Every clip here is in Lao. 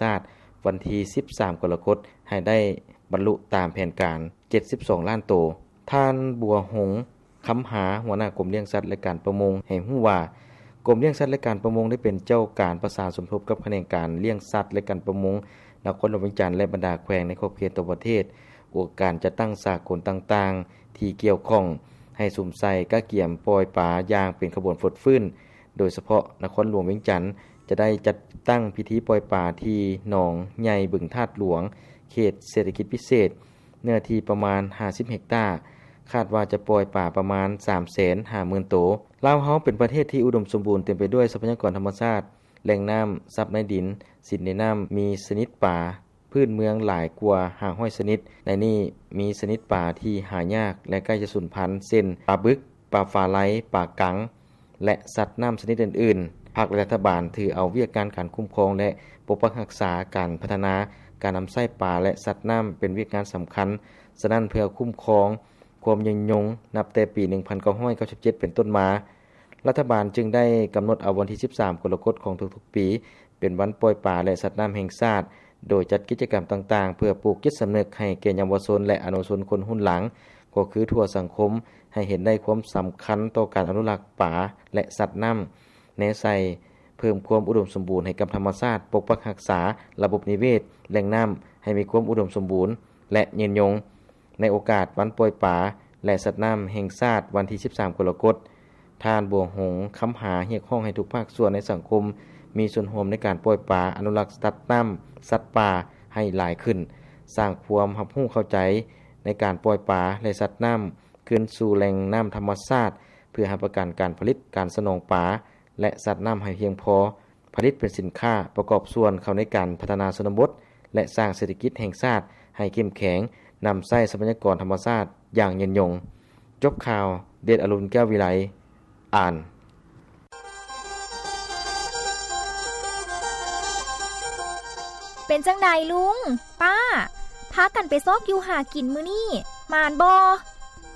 ຊາດ ວັນທີສິບສາມ ກໍລະກົດ ໃຫ້ໄດ້ບັນລຸຕາມແຜນການ ເຈັດສິບສອງລ້ານໂຕ. ທ່ານ ບົວຫົງ ຄຳຫາ ຫົວໜ້າກົມລ້ຽງສັດ ແລະ ການປະມົງ ໃຫ້ຮູ້ວ່າ ກົມລ້ຽງສັດ ແລະ ການປະມົງ ໄດ້ເປັນເຈົ້າການປະສານສົມທົບກັບຂະແໜງການລ້ຽງສັດ ແລະ ການປະມົງ ນະຄອນຫຼວງວຽງຈັນ ແລະ ບັນດາແຂວງໃນຂອບເຂດທົ່ວປະເທດ. ອົງການຈັດຕັ້ງສາກົນຕ່າງໆ ທີ່ກ່ຽວຂ້ອງ ໃຫ້ສຸມໃສ່ກະກຽມປ່ອຍປາຢ່າງເປັນຂະບວນຟົດຟື້ນ. ໂດຍສະເພາະນະຄອນຫຼວງວຽງຈັນ ຈະໄດ້ຈັດຕັ້ງພິທີປ່ອຍປາທີ່ໜອງໃຫຍ່ບຶງທາດຫຼວງ ເຂດເສດຖະກິດພິເສດ ເນື້ອທີ່ປະມານຫ້າສິບເຮັກຕາ, ຄາດວ່າຈະປ່ອຍປາປະມານສາມແສນຫ້າໝື່ນໂຕ. ລາວເຮົາເປັນປະເທດທີ່ອຸດົມສົມບູນ ເຕັມໄປດ້ວຍຊັບພະຍາກອນທຳມະຊາດ, ແຫຼ່ງນ້ຳ, ຊັບໃນດິນ, ສິນໃນນ້ຳ, ມີຊະນິດປາພື້ນເມືອງຫຼາຍກວ່າຫ້າຮ້ອຍຊະນິດ. ໃນນີ້ມີຊະນິດປາທີ່ຫາຍາກ ແລະ ໃກ້ຈະສູນພັນ ເຊັ່ນ ປາບຶກ, ປາຝາໄລ, ປາກັງ ແລະ ສັດນ້ຳຊະນິດອື່ນໆ. ພັກ ແລະ ລັດຖະບານຖືເອົາວຽກງານການຄຸ້ມຄອງ ແລະ ປົກປັກຮັກສາ, ການພັດທະນາ, ການນຳໃຊ້ປາ ແລະ ສັດນ້ຳ ເປັນວຽກງານສຳຄັນ. ສະນັ້ນ, ເພື່ອຄຸ້ມຄອງຄວາມຍືນຍົງ, ນັບແຕ່ປີໜຶ່ງພັນເກົ້າຮ້ອຍເກົ້າສິບເຈັດເປັນຕົ້ນມາ, ລັດຖະບານຈຶ່ງໄດ້ກຳນົດເອົາວັນທີສິບສາມ ກໍລະກົດ ຂອງທຸກໆປີ ເປັນວັນປ່ອຍປາ ແລະ ສັດນ້ຳແຫ່ງຊາດ, ໂດຍຈັດກິດຈະກຳຕ່າງໆ ເພື່ອປູກຈິດສຳນຶກໃຫ້ແກ່ເຍົາວະຊົນ ແລະ ອະນຸຊົນຄົນຮຸ່ນຫຼັງ, ກໍຄືທົ່ວສັງຄົມ ໃຫ້ເຫັນໄດ້ຄວາມສຳຄັນຕໍ່ການອະນຸລັກປາ ແລະ ສັດນ້ຳ, ແນໃສ່ເພີ່ມຄວາມອຸດົມສົມບູນໃຫ້ກັບທຳມະຊາດ, ປົກປັກຮັກສາລະບົບນິເວດ, ແຫຼ່ງນ້ຳ ໃຫ້ມີຄວາມອຸດົມສົມບູນ ແລະ ຍືນຍົງ. ໃນໂອກາດວັນປ່ອຍປາ ແລະ ສັດນ້ຳແຫ່ງຊາດ ວັນທີສິບສາມ ກໍລະກົດ, ທ່ານ ບົວຫົງ ຄຳຫາ ຮຽກຮ້ອງໃຫ້ທຸກພາກສ່ວນໃນສັງຄົມ ມີສ່ວນຮ່ວມໃນການປ່ອຍປາ, ອະນຸລັກສັດນ້ຳ, ສັດປ່າໃຫ້ຫຼາຍຂຶ້ນ, ສ້າງຄວາມຮັບຮູ້ເຂົ້າໃຈໃນການປ່ອຍປາ ແລະ ສັດນ້ຳຄືນສູ່ແຫຼ່ງນ້ຳທຳມະຊາດ, ເພື່ອຮັບປະກັນການຜະລິດ, ການສະໜອງປາ ແລະ ສັດນ້ຳໃຫ້ພຽງພໍ, ຜະລິດເປັນສິນຄ້າ, ປະກອບສ່ວນເຂົ້າໃນການພັດທະນາຊົນນະບົດ ແລະ ສ້າງເສດຖະກິດແຫ່ງຊາດໃຫ້ເຂັ້ມແຂງ, ນຳໃຊ້ຊັບພະຍາກອນທຳມະຊາດຢ່າງຍືນຍົງ. ຈົບຂ່າວ, ເດດອະລຸນ ແກ້ວວິໄລ ອ່ານ. ເປັນຈັ່ງໃດລຸງ, ປ້າ, ພາກັນໄປຊອກຢູ່ຫາກິນມື້ນີ້ ໝານບໍ່?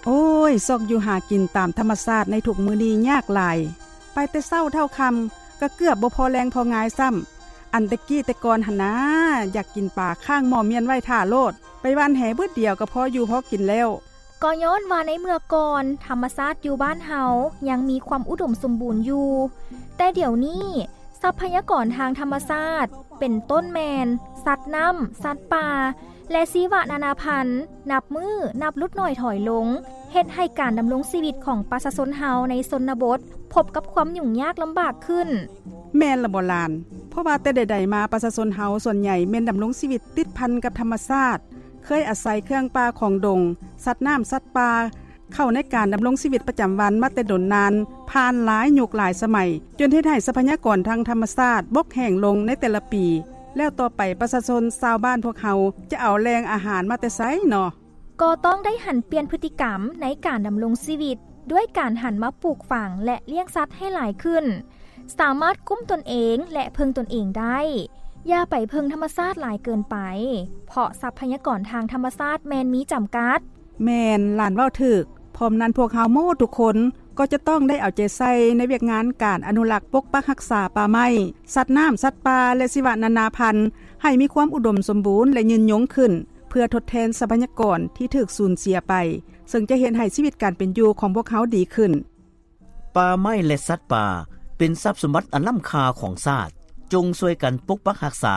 ໂອ້ຍ, ຊອກຢູ່ຫາກິນຕາມທຳມະຊາດໃນທຸກມື້ນີ້ຍາກຫຼາຍ. ໄປແຕ່ເຊົ້າເທົ່າຄ່ຳ ກໍເກືອບບໍ່ພໍແລງພໍງາຍຊ້ຳ. ອັນແຕ່ກີ້ແຕ່ກ່ອນຫັ້ນນາ, ຢາກກິນປາຄ້າງໝໍ້ມ້ຽນໄວ້ຖ້າໂລດ, ໄປຫວ່ານແຫບຶດດຽວກໍພໍຢູ່ພໍກິນແລ້ວ. ກໍຍ້ອນວ່າໃນເມື່ອກ່ອນ ທຳມະຊາດຢູ່ບ້ານເຮົາຍັງມີຄວາມອຸດົມສົມບູນຢູ່, ແຕ່ດຽວນີ້ ຊັບພະຍາກອນທາງທຳມະຊາດ ເປັນຕົ້ນແມ່ນ ສັດນ້ຳ, ສັດປ່າ ແລະ ຊີວະນານາພັນ ນັບມື້ນັບຫຼຸດໜ້ອຍຖອຍລົງ, ເຮັດໃຫ້ການດຳລົງຊີວິດຂອງປະຊາຊົນເຮົາໃນຊົນນະບົດ ພົບກັບຄວາມຫຍຸ້ງຍາກລຳບາກຂຶ້ນ. ແມ່ນລະບໍ່ຫຼານ? ເພາະວ່າແຕ່ໃດໆມາ ປະຊາຊົນເຮົາສ່ວນໃຫຍ່ແມ່ນດຳລົງຊີວິດຕິດພັນກັບທຳມະຊາດ, ເຄີຍອາໄສເຄື່ອງປ່າຂອງດົງ, ສັດນ້ຳ, ສັດປ່າ ເຂົ້າໃນການດຳລົງຊີວິດປະຈຳວັນມາແຕ່ດົນນານ, ຜ່ານຫຼາຍຍຸກຫຼາຍສະໄໝ, ຈົນເຮັດໃຫ້ຊັບພະຍາກອນທາງທຳມະຊາດບົກແຫ້ງລົງໃນແຕ່ລະປີ. ແລ້ວຕໍ່ໄປປະຊາຊົນຊາວບ້ານພວກເຮົາຈະເອົາແຫຼ່ງອາຫານມາແຕ່ໃສເນາະ? ກໍຕ້ອງໄດ້ຫັນປ່ຽນພຶດຕິກຳໃນການດຳລົງຊີວິດ ດ້ວຍການຫັນມາປູກຝັງ ແລະ ລ້ຽງສັດໃຫ້ຫຼາຍຂຶ້ນ, ສາມາດກຸ້ມຕົນເອງ ແລະ ເພິ່ງຕົນເອງໄດ້. ຢ່າໄປເພິ່ງທຳມະຊາດຫຼາຍເກີນໄປ, ເພາະຊັບພະຍາກອນທາງທຳມະຊາດແມ່ນມີຈຳກັດ. ແມ່ນ, ຫຼານເວົ້າຖືກ. ພ້ອມນັ້ນ, ພວກເຮົາໝົດທຸກຄົນກໍຈະຕ້ອງໄດ້ເອົາໃຈໃສ່ໃນວຽກງານການອະນຸລັກປົກປັກຮັກສາປ່າໄມ້, ສັດນ້ຳ, ສັດປ່າ ແລະ ຊີວະນານາພັນ ໃຫ້ມີຄວາມອຸດົມສົມບູນ ແລະ ຍືນຍົງຂຶ້ນ, ເພື່ອທົດແທນຊັບພະຍາກອນທີ່ຖືກສູນເສຍໄປ, ເຊິ່ງຈະເຮັດໃຫ້ຊີວິດການເປັນຢູ່ຂອງພວກເຮົາດີຂຶ້ນ. ປ່າໄມ້ ແລະ ສັດປ່າ ເປັນຊັບສົມບັດອັນລ້ຳຄ່າຂອງຊາດ. ຈົ່ງຊ່ວຍກັນປົກປັກຮັກສາ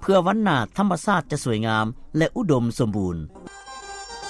ເພື່ອວັນໜ້າທຳມະຊາດຈະສວຍງາມ ແລະ ອຸດົມສົມບູນ.